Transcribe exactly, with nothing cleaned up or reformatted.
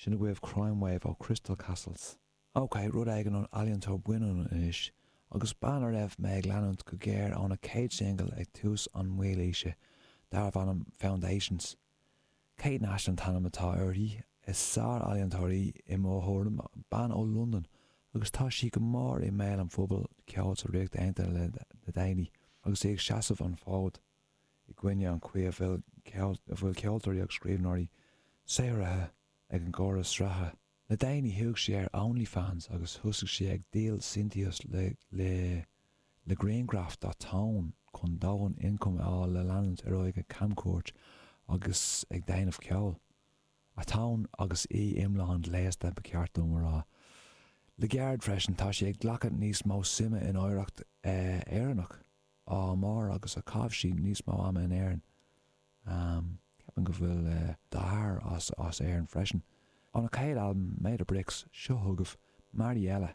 Sin agaibh Crime Wave ó Crystal Castles. Ok, rud éigin ón ealaíontóir baineann anois, agus bean a raibh mé ag leanúint go géar óna céad singil ag tús an mhílaoise, darbh ainm Foundations. Kate Nash an t-ainm atá uirthi, is sár-ealaíontóir í i mo thuairim, bean ó Londain, agus tá sí go mór i mbéal an phobail ceoil sa Ríocht Aontaithe le le déanaí, agus í ag seasamh an fód i gcoinne an chaoi a bhfuil a bhfuil ceoltóirí agus scríbhneoirí saothraithe ag an gcóras reatha. Le déanaí chuaigh sí ar OnlyFans agus thosaigh sí ag díol síntiús le le le grianghraif dá tóin chun dóthain ioncaim a fháil le leanúint ar aghaidh ag camchuairt agus ag déanamh ceoil. A tóin agus í iomlán gléasta ba cheart dom a rá. Le gairid freisin tá sí ag glacadh níos mó suime in oidhreacht Éireannach á mar agus a chaith sí níos mó ama in Éirinn. Ceapaim go bhfuil deartháir as as Éirinn freisin. Óna céad albam Made of Bricks seo chugaibh Mariella.